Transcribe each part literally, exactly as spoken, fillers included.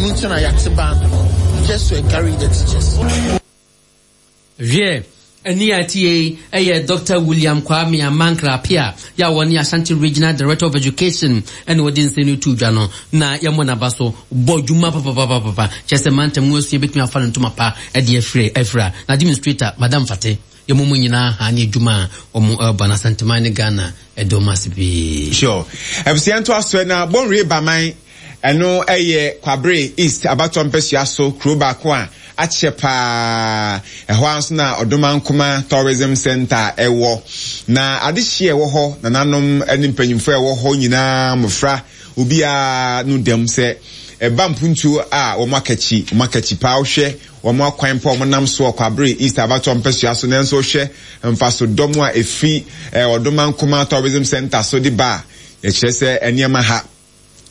Ɛno nti na yɛate band no just to encourage the teachers. Wiɛ, ɛne a ɛte ɛyɛ Doctor William Kwame Amankra Appiah yɛ a wɔne Ashanti Regional Director of Education ɛna wɔde nsɛm no to dwa no, na yɛmmɔ n'aba so bɔ dwuma papapapapa kyerɛ sɛ mantam mu asua bɛtumi afa no ntoma pa ɛde afiri afira na administrator Madam Fate yɛmu mu nyinaa ha ne adwuma a wɔn ɛreba na Asanteman ne Ghana ɛdɔm ase pii. Sure, abusua nto asoɛ na Bonwire Baman ɛno ɛyɛ Kwabre East abatɔ mpɛsua so kuro baako a akyɛ paa. Ɛhɔ ara nso na Ɔdomankoma Tourism Center ɛwɔ, na adehyeɛ ɛwɔ hɔ, nananom ne mpanyinfoɔ ɛwɔ hɔ nyinaa, mmɔfra, obiara no dɛm sɛ ɛba mpuntuo a wɔn akakyi wɔn akakyi paa. Wohwɛ wɔn akwan pa wɔn nam so Kwabre East abatɔ mpɛsua so, nanso wohwɛ mfaso dɔm a efi Ɔdomankoma Tourism Center so de ba a, ɛkyerɛ sɛ nneɛma ha.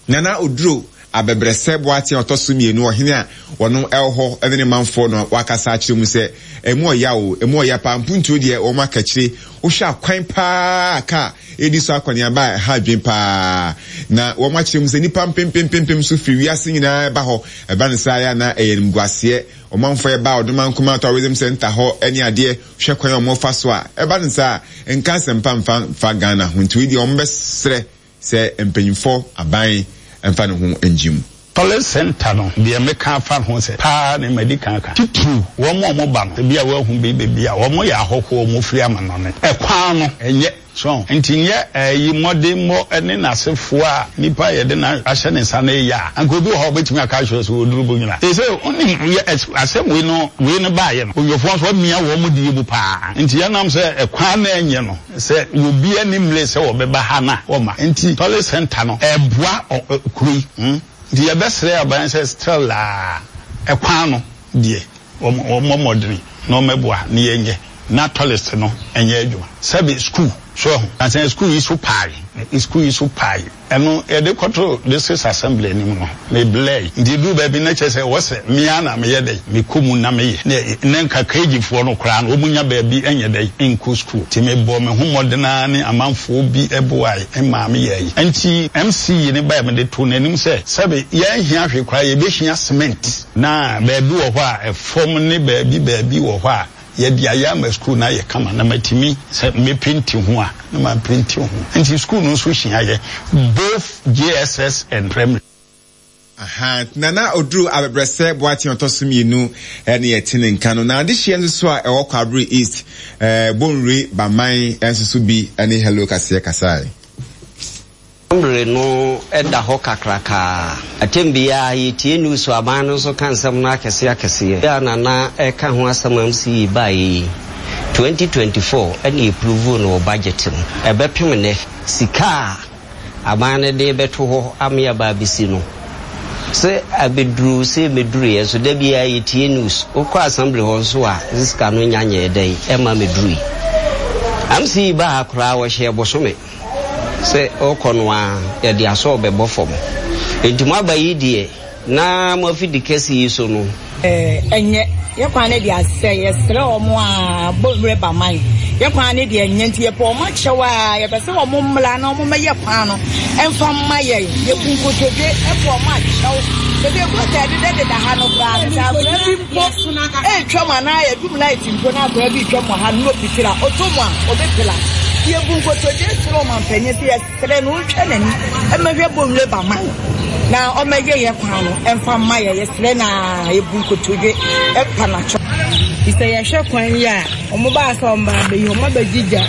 Nana Oduro Abɛbrɛsɛ Boateng ɔtɔ so mmienu, ɔhene a wɔn ɛwɔ hɔ ɛne ne manfoɔ no wakasa akyerɛ mu sɛ emu ɔya o, emu ɔya paa. Mpuntuo deɛ wɔn akakyire, wohwɛ akwan paa kaa edi so akɔneaba a ɛha adwene paa, na wɔn akyerɛ mu sɛ nipa mpempempempem so firi wiase nyinaa ɛba hɔ. Ɛba ne saa yɛ na ɛyɛ nimguaseɛ ɔmanfoɔ ɛba Ɔdomankoma Tourism Center hɔ ɛne adeɛ, hwɛ kwan a wɔn fa so a ɛba ne saa nka asɛmpa mfa mfa Ghana ho. Nti deɛ wɔn bɛsrɛ sɛ mpanyinfoɔ aban mfa ne ho ngye mu. Tourist center no deɛ, meka afa ho sɛ paa ne madi kan ka titiriw wɔn a wɔn ba no, ebi a wɔahu bi beebi a wɔn yɛ ahɔhoɔ, wɔn firi amanɔne, ɛkwan no ɛnyɛ so nti nyɛ ɛyi mmɔdemmɔ ne n'asefoɔ a nipa yɛde na ahyɛ ne nsa no yɛ a, anka obi wɔ hɔ a obetumi aka akyerɛ sɛ wɔduru bo nyina sɛ onim yɛ asɛm wei no wei no baayɛ no onyɔfoɔ nso amia wɔn mu die mu paa. Nti yɛnam sɛ ɛkwan na ɛnyɛ no sɛ obi anim le sɛ wɔbɛba ha na wɔma nti tourist center no ɛboa kuro yi hmm nti yɛbɛsrɛ aban sɛ still a ɛkwan no deɛ, wɔn mmɔdene na wɔmɛboa ne yɛnyɛ na tourist no ɛnyɛ adwuma. Sɛbi school so ɛho ansan school yi so paae, school yi so paae, ɛno yɛde kɔto district assembly anim no me blɛ. Nti duru baabi na kyerɛ sɛ wɔsɛ mmea na meyɛ dɛ mekɔ mu na meyɛ ne nka K G foɔ no koraa no wɔn nya baabi ɛnyɛ dɛ nkɔ school. Nti mebɔ me ho mmɔdena ne amanfoɔ bi ɛboae mmaa meyɛ yi. Nti M C yi ne baa mede to n'anim sɛ sɛbi yɛn hia hwee koraa, yɛbɛhia cement na baabi wɔ hɔ a ɛfɔm ne baabi baabi wɔ hɔ a yɛde ayɛ ama sukuu na ayɛ kama na matumi sɛ mepenti ho a na mapenti ho. Nti sukuu no nso hyia yɛ both J S S and primary. Aha, Nana Oduro Abɛbrɛsɛ Boateng ɔtɔ so mmienu ɛne yɛte ne nka no. Na adehyeɛ nso so a ɛwɔ Kwabre East, ɛɛ Bonwire Baman nso so bi ɛne Hello Kaseɛ kasae. Mmere no da hɔ kakrakaa atɛm biara yɛtie news, aban no nso ka nsɛm no akɛseɛ akɛseɛ a Nana ɛka ho asɛm. M C E baeɛ yi twenty twenty-four ɛne approve no wɔ budget mu. Ɛbɛpem nnɛ, sika a aban no de bɛto hɔ ame aba abɛsi no sɛ abɛduru sɛ mɛduruiɛ nso, da biara yɛtie news, wokɔ assembly hɔ nso a sika no nya nyɛɛ dɛn ɛma mɛdurui. M C E baa ha koraa, wɔhyɛ bosome sɛ ɔkɔ no a yɛde asɔ bɛbɔ fam. Nti mo aba yi deɛ na mo afidi kɛse yi so no. Ɛnyɛ yɛ kwan no deɛ asɛ yɛsrɛ wɔn a Bonwire Baman yɛ kwan no deɛ ɛnyɛ, nti yɛpɛ wɔn akyɛw a yɛpɛ sɛ wɔn mmla na wɔn mmɛyɛ kwan no ɛmfa mma yɛn. Yɛbu nkotodwe ɛpɛ wɔn akyɛw ebi gutter ɛdeda deda ha no koraa no, sɛ akwadaa bi mpo ɛretwam anaa yɛdum light mpo na akwadaa bi retwam wɔ ha no na opitira oto mu a obɛpila. Yɛbu nkotodwe srɛ ɔmampanyin sɛ yɛsrɛ no ɔntwa n'ani ɛmɛhwɛ Bonwire Baman na ɔmɛyɛ yɛ kwan no ɛmfa mma yɛ. Yɛsrɛ na yɛbu nkotodwe ɛpa n'akyɛw. Sɛ yɛhwɛ kwan yi a ɔmo baa sɛ ɔmo baa bɛyi, ɔmo abɛgyigya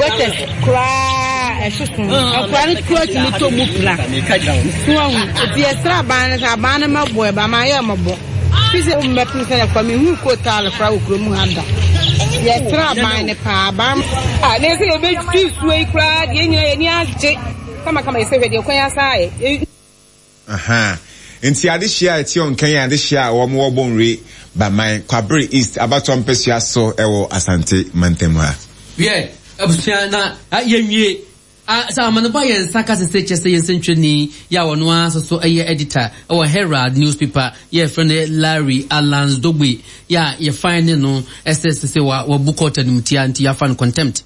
gutters koraa ɛsoso, akora no kura tumi tɔ mu pira so ahu. Nti yɛsrɛ aban no sɛ aban no mɛboa ɛba ma yɛ mɔbɔ fi sɛ mmɛpem sɛ yɛkɔ mehu kootaale koraa wɔ kurom ha da. Yɛsrɛ aban no paa, aban a na yɛsɛ yɛbɛtwi nsuo yi koraa deɛ nyina yɛni agye kamakama. Yɛsɛ hwɛ deɛ kwan asa ayɛ. Aha, nti adehyia a ɛte ɔnkan yɛ adehyia a wɔn wɔ Bonwire Baman, Kwabre East abatɔ mpɛsua so ɛwɔ Asante mantam ha. Wiɛ, abusua, na yɛnwie Sɛ amanebɔ a yɛn nsa ka sese kyɛ sɛ yɛn nsɛntwerɛni yɛ a ɔno ara nso so yɛ editor wɔ Herald newspaper yɛfrɛ no Larry Alans Dogbe yɛ a yɛfan ne no sɛ sese wabu court animtia nti yɛafa no contempt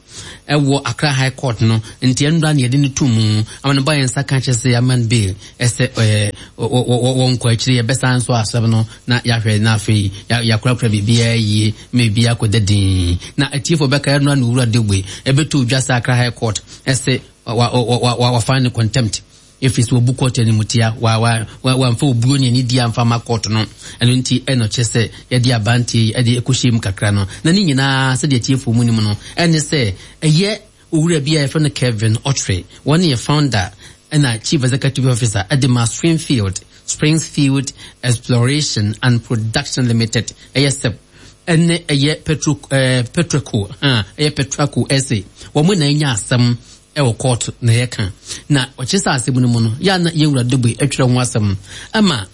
ɛwɔ Accra High Court no nti ɛnora ne yɛde no to mu. Amanebɔ a yɛn nsa ka kyerɛ sɛ yɛama no bail ɛsɛ ɛɛ wɔnkɔ akyire, yɛbɛsan nso asɛm no na yɛahwɛ na afei yɛakorakora biribiara yie ma biribiara akɔda din. Na atiefoɔ bɛka ɛnora ne Owura Dogbe ɛbɛtɔ dwa sɛ Accra High Court ɛsɛ wafa ne contempt ɛfiri sɛ wɔbu court animtia, wamfa obuo ne anidie amfa ma court no. Ɛno nti ɛna ɔkyerɛ sɛ yɛde abanteɛ yi ɛde ɛkɔhyɛ mu kakra no na ne nyinaa sɛdeɛ atiefoɔ mu nim no ɛne sɛ ɛyɛ owura bi a yɛfrɛ no Kevin Okyere, wɔne yɛ founder ɛna chief executive officer ɛde ma Springfield Springfield Exploration and Production Limited, ɛyɛ SEP, ɛne ɛyɛ Petro ɛɛ Petroco ha ɛyɛ Petraco ɛsɛ wɔn na ɛnya asɛm ɛwɔ court na yɛka na ɔkyerɛ sɛ asɛm no mu no yɛ na yɛwura Dogbe atwerɛ ho asɛm ama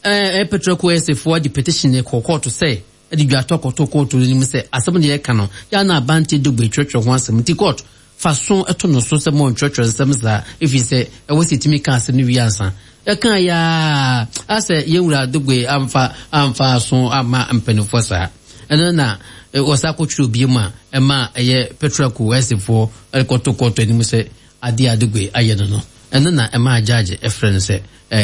ɛɛ Petraco ɛsɛ foɔ de petition kɔ court sɛ ɛde dwatɔ kɔtɔ court no nim sɛ asɛm no yɛka no yɛ na abante Dogbe atwerɛtwerɛ ho asɛm nti court fa so ɛto no so sɛ mo ntwerɛtwerɛ nsɛm saa ɛfiri sɛ ɛwɔ sɛ ɛtumi ka asɛm no wie ansa ɛka yɛa asɛ yɛwura Dogbe amfa amfa so ama mpanimfoɔ saa. Ɛno na wɔsa akɔtwerɛ obie mu a ɛma ɛyɛ Petraco ɛsefoɔ ɛkɔto kɔtɔ anim sɛ adeɛ a Dogbe ayɛ no no ɛno na ɛma agyagye ɛfrɛ no sɛ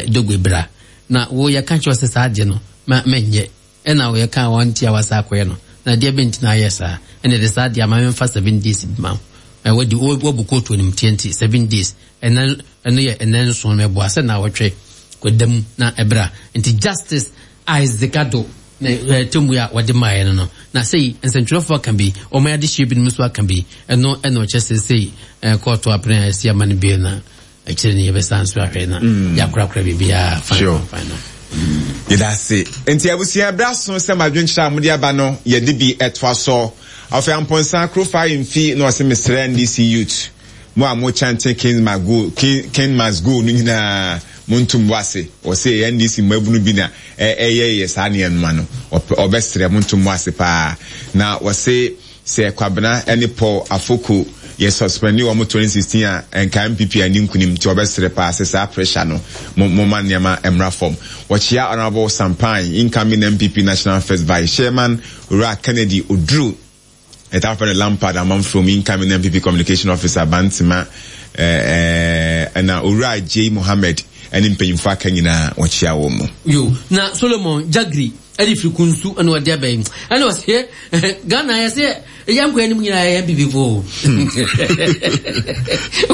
Dogbe bra na wo yɛka kyerɛ sɛ saa adeɛ no ma mɛnyɛ ɛna wɔyɛka wɔn nti a wasa akɔyɛ no na adeɛ bɛnti na ayɛ saa ɛna ɛde saa adeɛ ama memfa seven days bi ma wo wɔde wɔbu kootu anim tie nti seven days ɛnɛ ɛno yɛ ɛnɛ nson mɛboa sɛ na wɔtwe kɔdam na ɛbra. Nti Justice Isaac Addo na temu a wɔde maaeɛ no no na sɛi nsɛntwerɛfoɔ aka bi ɔma yɛade hyɛ binom nso aka bi ɛno ɛna ɔkyɛ sɛ sɛi kɔɔto apene a ɛsi ama no bie na akyire no yɛbɛsan so ahwɛ na yɛakorakora biribiaa fine fine no. Yɛda ase. Nti abusua berɛ aso sɛ madwenkyerɛ a mode aba no yɛde bi ɛtoa so. Afei Amponsa Kurofa mfi na ɔse mesrɛ N D C youth mo a mo chante King must go, King, King must go no nyinaa montom wase. Ɔse N D C mmabunu bi na ɛyɛ yɛ saa nneɛma no ɔbɛsrɛ montom wase paa. Na ɔse sɛ Kwabena ne Paul Afoko yɛ suspendi wɔn twenty sixteen a nka M P P ani nkunim nti ɔbɛsrɛ paa sɛ saa pressure no mo mo ma nneɛma mmra fam. Wɔkyea Honorable Sampan, incoming M P P National First Vice Chairman Owura Kennedy Oduru ɛta fɛ no Lampard Amanfrom, incoming M P P Communication Officer Bantima ɛna Owura J Mohammed ɛne mpanyinfo aka nyinaa wɔkyea wɔn mu. Yo na Solomon Jagri ɛde firi kunsu ɛna ɔde abɛn ɛna ɔsɛ Ghana yɛ sɛ ɛyɛ nkwa anim nyinaa yɛ M P P fo.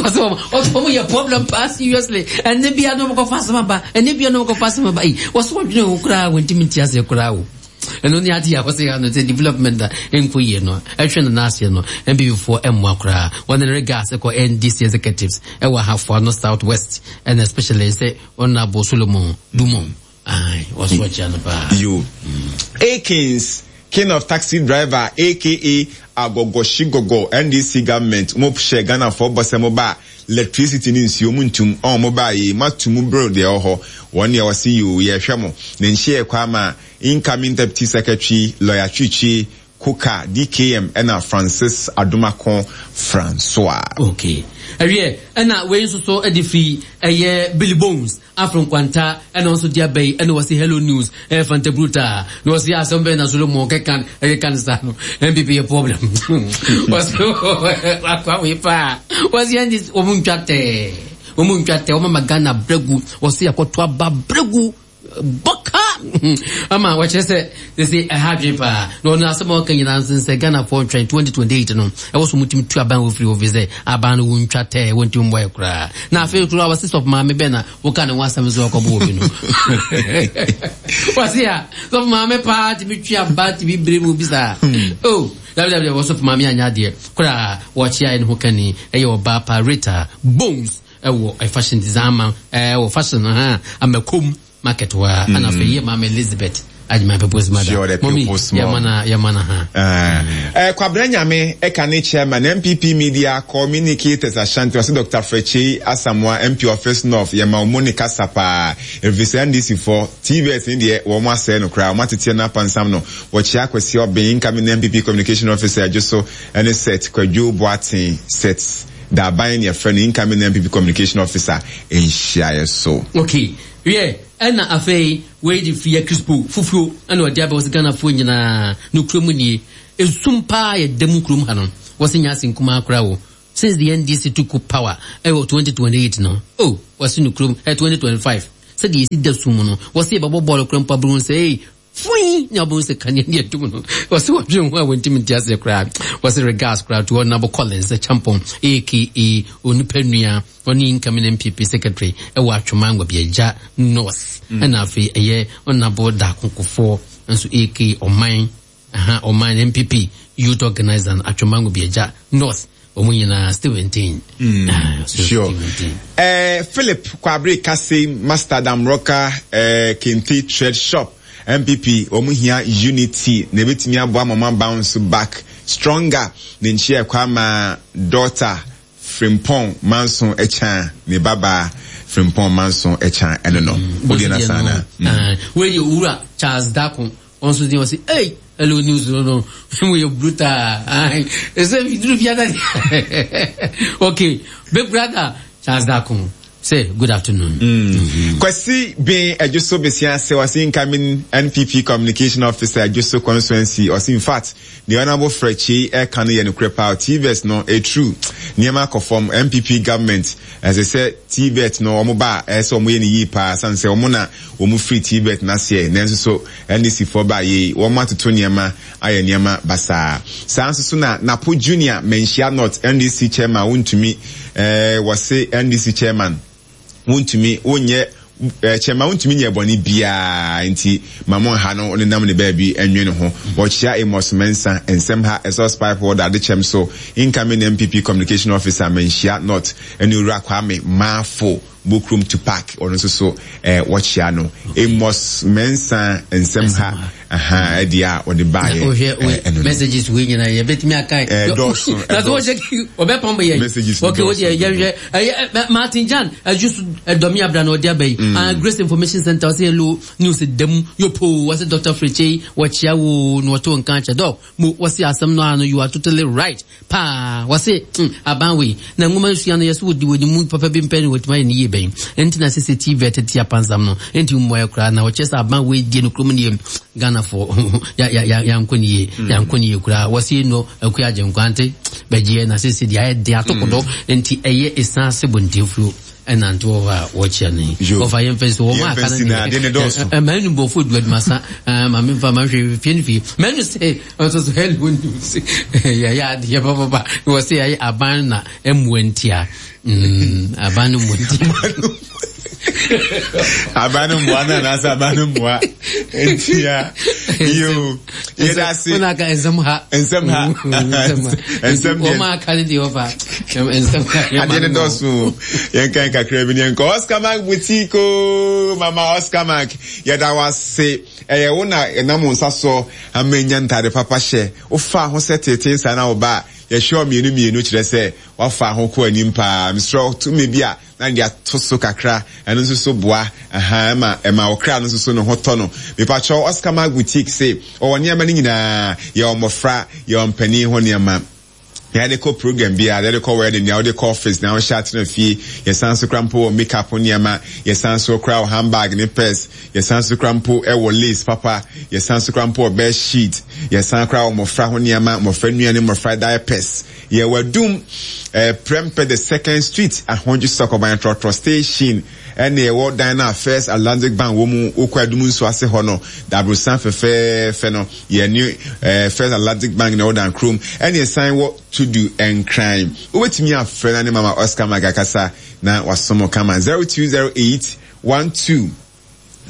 Ɔsɛ ɔsɛ ɔmo yɛ problem paa seriously ɛne bia no ɔmo kɔfa asɛm aba ɛne bia no ɔmo kɔfa asɛm aba yi wɔsɛ wɔdwene ho koraa wɔntumi nti aseɛ koraa o. Ɛno ne ade a wɔsɛ ano sɛ development a ɛnkɔ yie no ɛhwɛ no n'aseɛ no M P P foɔ ɛmmoa koraa. Wɔne regards ɛkɔ N D C executives ɛwɔ Ahafoa no South West ɛna especially sɛ Honorable Solomon Dumo. Aye, wɔso akyia no paa. Yo. Akins, king of taxi driver, aka Agogoshigogo, N D C government, mo hyɛ Ghana for bɔsɛ mo ba electricity ni nsuo mu ntum, ɔn mo ba yi, matu mu bro deɛ ɔhɔ. Wɔn deɛ wɔsi yo, yɛhwɛ mo. Ne nhyɛ kwa ma incoming deputy secretary lawyer Chichi Kuka D K M ɛna Francis Adomako Francois. Okay. Ɛwiɛ, ɛna wei nso so ɛde fi ɛyɛ Billy Bones Afro Nkwanta ɛna nso de abɛyi ɛna wɔsi Hello News ɛyɛ Fanta Bruta na wɔsi asɛm bɛyɛ na Solomon kɛkan ɛkeka ne sa no N P P yɛ problem. Wɔsi akwa wei paa wɔsi ɛndi wɔn ntwa tɛɛ wɔn ntwa tɛɛ wɔn ama Ghana bregu wɔsi akɔto aba bregu bɔka ama wɔkyerɛ sɛ sɛ ɛha adwene paa na ɔno asɛm a ɔka nyinaa nso sɛ Ghana foɔ ntwɛn twenty twenty-eight no ɛwɔ so mutumi tu aban wɔ firi hɔ fi sɛ aban no wɔntwa tɛɛ wɔntumi mmɔ yɛ koraa na afei koraa wɔse sɔfo maame bɛn na woka ne ho asɛm sɛ ɔkɔbɔ obi no wɔse a sɔfo maame paa tumi twe aba tumi bere mu bi saa oh dabi dabi wɔ sɔfo maame anya adeɛ koraa wɔkyea ne ho kani ɛyɛ ɔbaa pa Rita Bones ɛwɔ fashion design ma ɛwɔ fashion ha amakom market wa mm. Ana fe ye mama Elizabeth Ajima people's mother. Sure, the people's mom. Yamana yamana ha. Eh uh, Kwabena Nyame e ka ne chairman M P P Media Communicators Ashanti wase Doctor Frechi Asamoah M P Office North ye ma Monica Sapa efisi N D C four T V S ni de wo mo ase no kra wo matete na pansam no wo chia kwasi obin incoming M P P Communication Officer Joso ene set Kwadwo Boatin set Daban ne yɛfrɛ no incoming N P P communication officer nhyiaeɛ so. Okay, wiɛ, ɛna afei wei de fia Crispo fufuo ɛna ɔde aba. Wɔ sɛ Ghanafoɔ nyinaa no kurom nie, esum paa yɛ da mu kurom ha no. Wɔsɛ nyɛ ase nkumaa koraa o. Since the N D C took power ɛwɔ twenty twenty-eight no oh, wɔsi no kurom ɛ twenty twenty-five, sɛdeɛ yɛsi da sum no, wɔsi yɛbɛbɔ bɔɔlo kura mpo abɛhu sɛ ee fui ne abɛhu sɛ kanea ne yɛdum no. Wɔsi wɔdwe ho a wɔntumi nte aseɛ koraa. Wɔsi regards koraa to Honourable Collins Champon, A K A Onipa Nua, ɔne incoming N P P secretary ɛwɔ Atwoma Nwabiagya North. Ɛna afei ɛyɛ Honourable Dakonkofoɔ nso, A K A Ɔman aha, Ɔman N P P youth organizer Atwoma Nwabiagya North. Wɔn nyinaa still maintain. Mm, Ah, still sure. maintain. Eh, Philip Kwabre Kase, Master Damroka, eh, Kente Trade Shop, N P P, wɔn hia unity na ebetumi aboa mama bounce back stronger. Ne nkyɛn ɛkɔ ama daughter Frimpong Manso Ɛkyan, ne babaa Frimpong Manso Ɛkyan ɛno no. O deɛ na sana. Ah, wei yɛ Owura Charles Dako, ɔno nso deɛ ɔsi, "Hey, hello news no no mo yɛ brutal." Ayi ɛsɛ duru fiada. Okay, big brother Charles Dako say good afternoon. Mm. Kwasi bin Ejuso Besia se ɔsi incoming N P P communication officer, Ejuso constituency. Ɔsi in fact, the honourable Frekye ɛka no yɛ nokorɛ paa. T V E T no e true, nneɛma akɔ fam. N P P government ɛsɛ sɛ T V E T no wɔn ba a, ɛsɛ sɛ wɔn yɛ ne yie paa, san sɛ wɔn na wɔn firi T V E T n'aseɛ, nanso so N D C foɔ ba yie, wɔn atoto nneɛma ayɛ nneɛma basaa saa. Nso so na Napo Junior, Manhyia North N D C chairman, wontumi ɛɛ wɔse N D C chairman wontumi wonyɛ ɛɛ chairman, wontumi nyɛ bɔne biara, nti mamu ha no ɔnenam ne baabi ɛnwe ne ho. Wɔkyia Amos Mensa nsɛm ha exhaust pipe wɔ dade kyɛm so, incoming N P P communication officer, Manhyia North, ɛne Owura Kwame Maafo Bokrom Tupac, ɔno nso so ɛɛ wɔkyia no. Amos Mensa nsɛm ha aha ɛdeɛ a ɔde baayɛ. Wohwɛ ɛɛ ɛno no. Messages wei nyinaa yɛbɛtumi aka. Ɛdɔɔso, na sɛ wɔhyɛ ɔbɛpam yɛn. Messages no okay wo dɔɔso. Deɛ yɛhwɛ ɛyɛ ɛ, Martin Jan ɛdwo so ɛdɔmi abira na ɔde aba yi. Ah, Grace Information Center ɔsɛ hello news dɛm yopo. Wɔsɛ Doctor Frekye wɔkyia wo na wɔto nka kyɛ dɔk mo. Wɔsɛ asɛm no ano, you are totally right paa. Wɔsɛ mm, aban wei na nwoma nsua no yɛsɛ wɔdi wɔdi mu papa bi mpɛ ne wɔtumi ayɛ ne yie bɛn, ɛnti na sɛ sɛ T V tete apansam no ɛnti mmoa koraa na wɔkyerɛ sɛ aban wei die no kurom ne yɛ Ghanafoɔ ya ya ya yankɔ ne yie, yankɔ ne yie koraa. Wɔsɛ no akua agye nkwante bɛgyeɛ na sɛ sɛ deɛ ayɛ den atokodo nti ɛyɛ ɛsan ase bɔntenfuo ɛnante wɔ hɔ a wɔkyia no yi. Yo. Wɔfa yɛmfɛ sɛ wɔn Yɛmfa aka no nsi na ade ne dɔɔso. Mmaa nu bɔfo du adumasa maame nfa ma hwɛ fie no fie mmaa nu sɛ ɔsɔ so hello news yɛyɛ adeɛ papapa. Wɔ sɛ yɛayɛ aban na ɛmmoa ntia. Mm, aban no mmoa ntia. Aban no mmoa no anaasɛ aban no mmoa ntia yo, yɛda ase. Wɔn aka nsɛm ha. Nsɛm ha. Nsɛm ha. Nsɛm deɛ. Wɔn aka ne deɛ wɔfa nsɛm ha. Adeɛ no dɔɔso o. Yɛnkan kakra bi ne yɛnkɔ Oscar Mark Boutique o. Mama Oscar Mark, yɛda wo ase. Ɛyɛ wo na ɛnam wo nsa so ama nya ntade papa hyɛ. Wofa ho sɛ tete nsa na wo ba a yɛhwɛ wo mmienu mmienu, kyerɛ sɛ wafa ho kɔ anim paa. Mesrɛ wo, tumi bi a na de ato so kakra, ɛno nso so boa aha ɛma ɛma wo kra no nso so ne ho tɔ no. Mepakyɛw, Oscar Mark Boutique se ɔwɔ nneɛma no nyinaa. Yɛwɔ mmɔfra, yɛwɔ mpanin ho nneɛma, yɛde kɔ program biara, yɛde kɔ wedding, nea wɔde kɔ office na wɔhyɛ atena fie. Yɛsan so kora mpo wɔ makeup nneɛma, yɛsan so kora wɔ handbag ne purse, yɛsan so kora mpo wɔ lace papa, yɛsan so kora mpo wɔ bed sheet, yɛsan kora wɔ mmɔfra ho nneɛma, mmɔfra nnuane, mmɔfra diapers. Yɛwɔ Adum ɛɛ Prempeh the Second Street, Ahodwo Sɔkɔban trɔtrɔ station, ɛna ɛwɔ dan no a First Atlantic Bank wɔ mu. Wokɔ Adum nso ase hɔ no, daborosan fɛfɛɛfɛ no, yɛne ɛɛ First Atlantic Bank na ɛwɔ dan kurom. Ɛna ɛsan wɔ Tudu Nkran. Wobɛtumi afrɛ na ne Mama Oscar Magakasa na wasom kama, zero two zero eight one two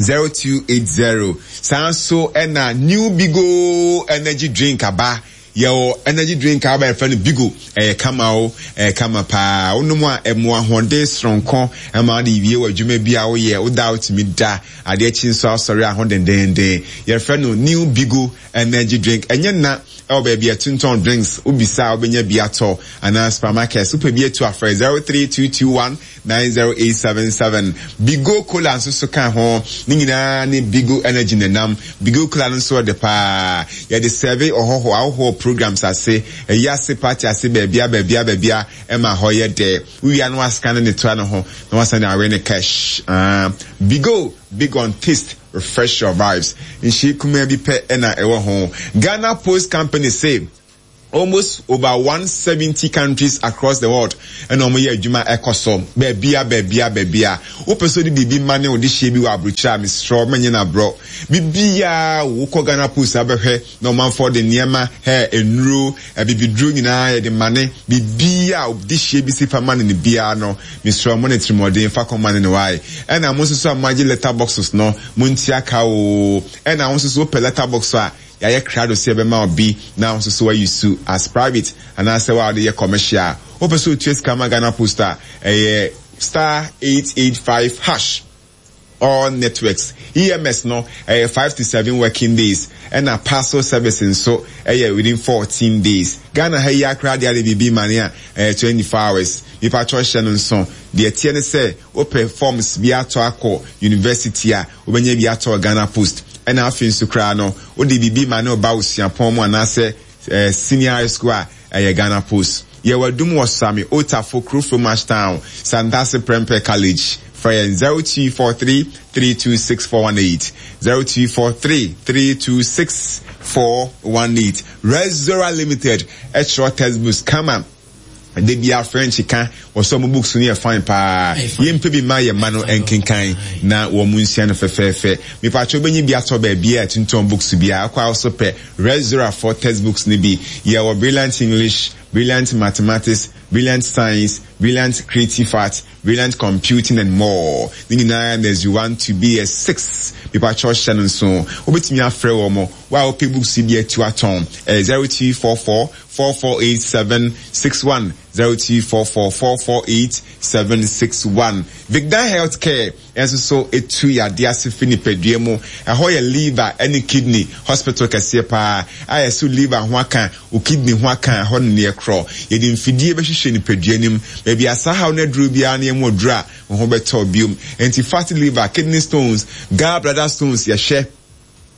zero two eight zero. Saa nso ɛna new Bigo energy drink aba. Yɛwɔ energy drink a wɔbɛyɛ no Bigo. Ɛyɛ kama o, ɛyɛ kama paa. Wonom a, ɛmo ahoɔden soronko ɛma wode wie wɔ adwuma bi a woyɛ. Woda a, wotumi da adeɛ akyi nso asɔre aho dendenden. Yɛfrɛ no new Bigo energy drink. Ɛnyɛ na ɛwɔ baabi a ɛtontɔn drinks, wobisa a wobɛnya bi atɔ, anaa supermarket wopɛ bi atu afrɛ zero three two two one nine zero eight seven seven. Bigo Cola nso so ka ho. Ne nyinaa ne Bigo energy nenam. Bigo Cola no nso ɔde paa, yɛde sɛbe ɔhɔho ahohoɔ. programs ase, ɛyi ase party ase baabia baabia baabia ɛma hɔ yɛ dɛ. Wowia no wascan ne toa no ho na wasan de awe ne cash. Ah, Bigo, big on taste, refresh your vibes. Nhyɛ kumaa bi pɛ ɛna ɛwɔ ho. Ghana Post Company say almost over one seventy countries across the world ɛna wɔn yɛ adwuma ɛkɔ so baabia baabia baabia. Wopɛ sɛ ɔde biribi ma ne ɔde hyɛ bi wɔ aburokyire a, mesrɛ mɛnyɛ n'aborɔ biribiara. Wokɔ Ghana Post abɛhwɛ na ɔmanfoɔ de nneɛma hɛ, nnuro, abibiduro nyinaa yɛde ma ne biribiara a ɔde hyɛ bi si fa ma ne ne biara no. Mesrɛ mo ne tirimɔden fa kɔma ne ne wae. Ɛna mo nso so a mo agye letter boxes no, mo ntua ka o. Ɛna mo nso so wopɛ letter box a yɛayɛ krado sɛ yɛbɛma obi na nso so wayi su as private anaasɛ wa wɔde yɛ commercial. Wopɛ sɛ otua sika ma Ghana Post a, ɛyɛ star eight eight five hash, all networks. E M S no ɛyɛ five to seven working days, ɛna parcel service nso ɛyɛ within fourteen days. Ghana ha yi akora deɛ, ade biribi ma ne a ɛyɛ twenty four hours. Nipa atwa hyɛ no nso deɛ teɛ ne sɛ wopɛ forms bi atɔ akɔ university a, wobɛnya bi atɔ Ghana Post. Ɛna afei nso koraa no, wode biribi ma ne ɔba wo suapɔn mu anaasɛ ɛɛ senior high school a, ɛyɛ Ghana Post. Yɛwɔ Adum wɔ Sami Otafo Kurofo Ashtown, Santase Prempeh College. Frɛ yɛn zero two four three three two six four one eight, zero two four three three two six four one eight. Rezora Limited ɛkyerɛ textbooks kama de bia French ka wɔsɔ mo books no yɛ fine paa. Yɛmpɛ bi ma yɛ ma no nkenkan na wɔn mu nsua no fɛfɛɛfɛ. Mipatwa wobɛnyi bi atɔ baabi a tuntun books bi a akɔ a wɔso pɛ Rezora for textbooks no bi. Yɛwɔ Brilliant English, Brilliant Mathematics, Brilliant Science, Brilliant Creative Art, Brilliant Computing and more. Ne nyinaa nursery one to B S six. Mipatwa ɔhyɛ no nso, wobɛtumi afrɛ wɔn mo wa a wopɛ books bi atu atɔn, ɛyɛ zero two four four four four eight seven six one, zero two four four four four eight seven six one. Vicdan Healthcare ɛnso so etu yadeɛ ase fi nipadua mu. Ɛhɔ yɛ liver ɛne kidney hospital kɛseɛ paa a yɛso liver ho aka, o kidney ho aka, ɛhɔ ne neɛ korɔ. Yɛde mfidie bɛhwehwɛ nipadua nim baabi asa haw no aduro biara ne ɛmu aduro a wɔn ho bɛtɔ biom. Nti fatty liver, kidney stones, gallbladder stones, yɛhwɛ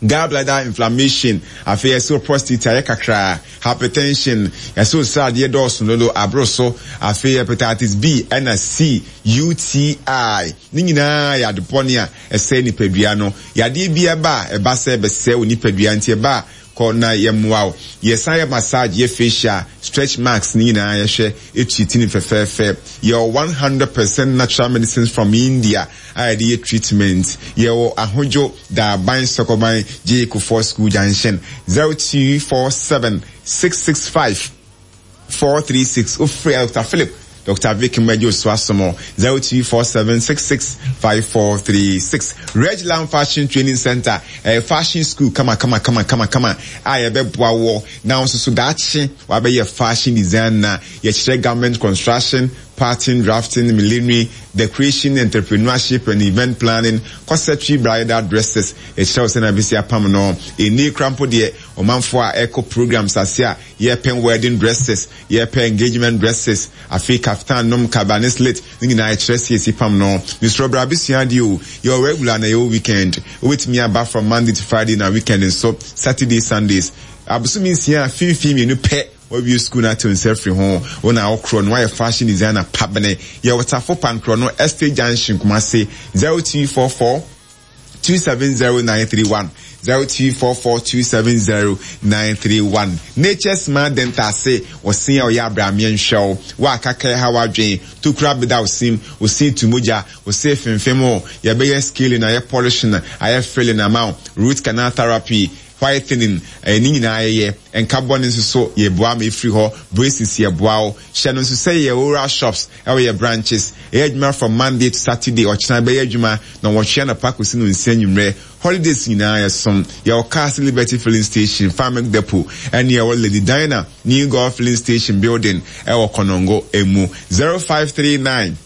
gallbladder inflammation. Afei yɛsɛ prostate ayɛ kakraa, hypertension, yɛsɛ osradeɛ dɔɔso dodo aboro so, afei hepatitis B ɛna C, U T I, ne nyinaa yɛ adebɔne a ɛsɛ nipadua no. Yadeɛ bi ɛba a ɛba sɛ ɛbɛsɛe wɔ nipadua, nti ɛba a kɔ na yɛmmoa wo. Yɛsan yɛ massage, yɛ facial, stretch marks ne nyinaa yɛhwɛ etu ti ne fɛfɛɛfɛ. Yɛwɔ one hundred percent natural medicines from India a yɛde yɛ treatment. Yɛwɔ Ahodwo Daaban Sɔkɔban J Kofoɔ School Junction, zero two four seven six six five four three six. Ofiri Doctor Philip, Doctor Vic Mmejo Osuasomo, zero two four seven six six five four three six. Regland Fashion Training Center, ɛyɛ fashion school kama kama kama kama kama a yɛbɛboa wɔ na nso so daakye wabɛyɛ fashion designer. Yɛkyerɛ garment construction, pattern drafting, millinery, decoration, entrepreneurship and event planning, corsetry, bridal dresses. Yɛkyerɛ wo sɛ na bɛsi apam no. Ɛni kora mpo deɛ, ɔmanfoɔ a ɛkɔ programs ase a yɛpɛ wedding dresses, yɛpɛ engagement dresses, afei kaftan nom, kaba ne slit ne nyinaa yɛkyerɛ siesie pam no. Mesrɛ bra abɛsua adeɛ o. Yɛwɔ regular na yɛwɔ weekend. Wobɛtumi aba from Monday to Friday, na weekend nso Saturday, Sundays. Abosomi nsia a finfin mmienu pɛ, wawie school no ate nsa afiri ho. Wo na wokorɔ no wayɛ fashion designer pabene. Yɛwɔ Tafo Pankorɔ no, Estate Junction, Kumase, zero two four four two seven zero nine three one, zero two four four two seven zero nine three one. Nature Smart Dental se wɔsen a ɔyɛ abrameɛ nhwɛw wo a kaka ha wadwen tokura beda wo sim, wo sin tu mogya, wo se femfem o. Yɛbɛyɛ scaling, ayɛ polishing, ayɛ filling ama wo, root canal therapy, whitening, ɛɛ ne nyinaa yɛyɛ. Nka bɔ ne nso so yɛboa ma efiri hɔ. Braces yɛboa wo. Hyɛ no nso sɛ yɛ oral shops ɛwɔ yɛ branches. Ɛyɛ adwuma from Monday to Saturday. Ɔkyena bɛyɛ adwuma na wɔtwe anɔpa kɔsi no nsia nwummerɛ. Holidays nyinaa yɛsom. Yɛwɔ Cars Liberty Filling Station, Farming Depot, ɛne yɛwɔ Lady Dina New Golf Filling Station building ɛwɔ Kɔnɔngo emu. zero five three nine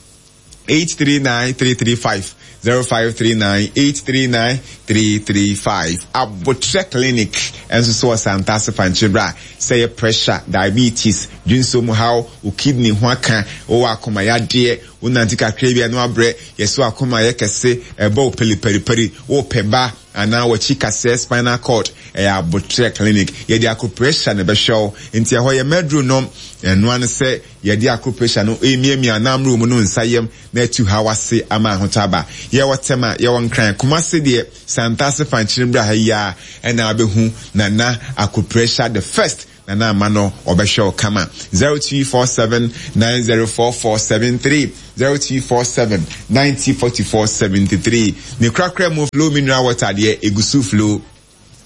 eight three nine three three five, zero five three nine eight three nine three three five. Abotre Clinic nso so wɔ Santase Fankyebra sɛ yɛ pressure, diabetes, dwonso mu haw, wo kidney ho aka, wowɔ akoma yadeɛ, wonante kakra bi a na wabrɛ, yɛso akoma yɛ kɛse, ɛbɔ wo peliperiperi, wopɛ ba anaa wɔkyi kasɛɛ spinal cord, ɛyɛ Abotre Clinic. Yɛde acupressure na ɛbɛhwɛ wo, nti ɛhɔ yɛ mɛduro nom, ɛnoa no sɛ yɛde acupressure no emiamia anamro mu no nsa yam na atu haw ase ama ahotɔ aba. Yɛwɔ Tema, yɛwɔ Nkran, Kumase deɛ Santase Fankyerɛ ha yi a ɛna abɛhu Nana acupressure the first Nana ama no ɔbɛhwɛ wo kama. zero two four seven nine zero four four seven three zero two four seven ninety forty four seventy three. Ne korakora mu Flow mineral water deɛ egusu flow.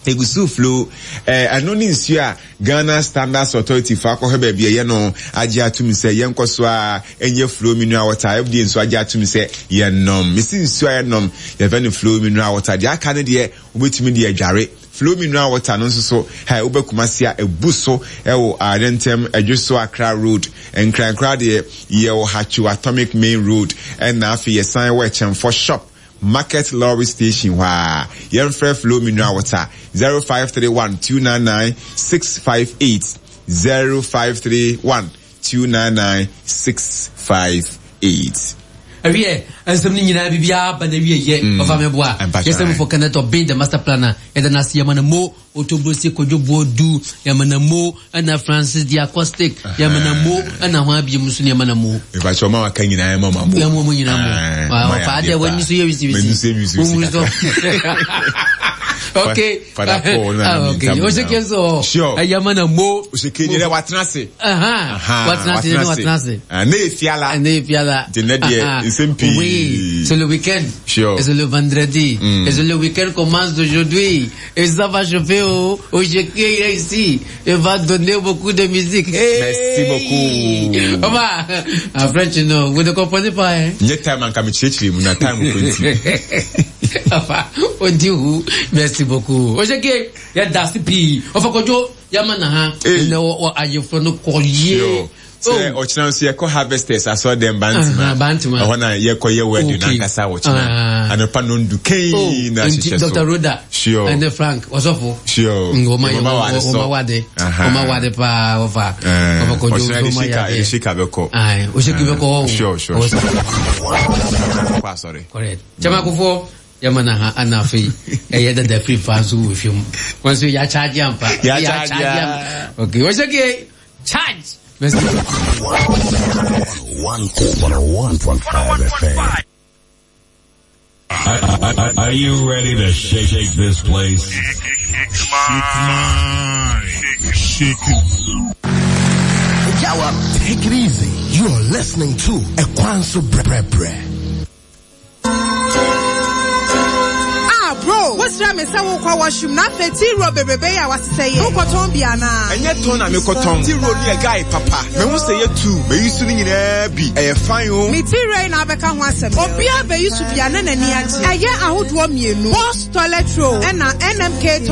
Egusu flow eh ɛno ne nsuo a Ghana Standards Authority fa akɔhwɛ baabi ɛyɛ no agye atum sɛ yɛnkɔ so a ɛnyɛ Flow mineral water. F D A nso agye atum sɛ yɛnom. Mesi nsuo a yɛnom yɛfɛ no Flow mineral water. Deɛ aka no deɛ wobɛtumi de adware. Flow mineral water no nso so ha wobɛkumase a ebu so ɛwɔ Adentem Adwoso Accra Road. Nkrankra deɛ yɛwɔ Hachu Atomic Main Road ɛna afei yɛsan wɔ Ɛkyɛnfo Shop Market Lorry Station hɔ a yɛmfrɛ Flow mineral water zero five three one two nine nine six five eight zero five three one two nine nine six five eight. Awie nsɛm no nyinaa biribiara ba na wie yɛ ɔfa me boa yɛsɛm for Kenneth Obin the master planner yɛda no ase yɛma no mo Otobrosi Kojo Boadu yɛma no mo ɛna Francis the acoustic yɛma no mo ɛna ho abiem nso yɛma no mo ɛfa ɔma waka nyinaa yɛma mo yɛma mo nyinaa mo ɔfa adeɛ w'ani so yɛ wisiwisi wisi okay Father Paul na okay Oseke so sure yɛma no mo Oseke nyere watena ase aha watena ase ne watena ase ne efiala ne efiala de ne deɛ nsɛm pii. Oui, c'est le week-end. Sure. Et c'est le vendredi. Mm. Et c'est le week-end commence aujourd'hui. Et ça va chauffer au Oseke ici. Il va donner beaucoup de musique. Hey! Merci beaucoup. On va. En French, non, vous ne comprenez pas, hein? Nye time anka me chiri mu na time ko nti. Enfin, on dit où? Merci beaucoup. Oseke, il y a Dasi P. Enfin, Kojo, Yamana, Hey. no, ayefo no collier. Sure. Sɛ ɔkyena nso yɛkɔ harvesters asɔ dɛm Aha, Bantama. Bantama. Ɛhɔ na yɛkɔ yɛ wedding Okay. nankasa ɔkyena. Ah. Anɔpa nondu kei Oh, na nti hyehyɛ so. Doctor Rhoda. Sure. And Frank, wasɔfo. Sure. Mm, Wɔma Wɔma wade sɔ. wɔma wade. Aha. Wɔma wade paa wɔfa. Eh, Wɔfa Kojo ɔkyena nso de ma shika yɛ de adeɛ. shika bɛkɔ. Aye, Oseke bɛkɔ hɔ. Sure, sure, Ɔwɔ sure. sɛ- Kɔ asɔre. Correct. Kyɛma Kofoɔ, yɛma na ha ana afei ɛyɛ dada firi fa nso wɔ hwɛ mu. Wɔn nso yɛakyagye ampa. Yɛakyagye ampa. Okay, Oseke, charge. Merci. One one point five F M. Are, are, are you ready to shake, shake this place? Shake mine. Shake it. Jawa, take it easy. You are listening to Ekwanso Bre Bre. Ah, bro, what's wrong? Me say wo kwa washroom na fe ti ro bebebe ya wasese ye. Wo koton bia na. Enye ton na me koton. Ti ro ni e guy papa. Me hu say ye two. Me yusu ni nyina bi. E fine o. Me ti ro na abeka ho asem. Obi a be yusu bia na nani agye. Eye ahodo mienu. Boss toilet roll e na N M K toilet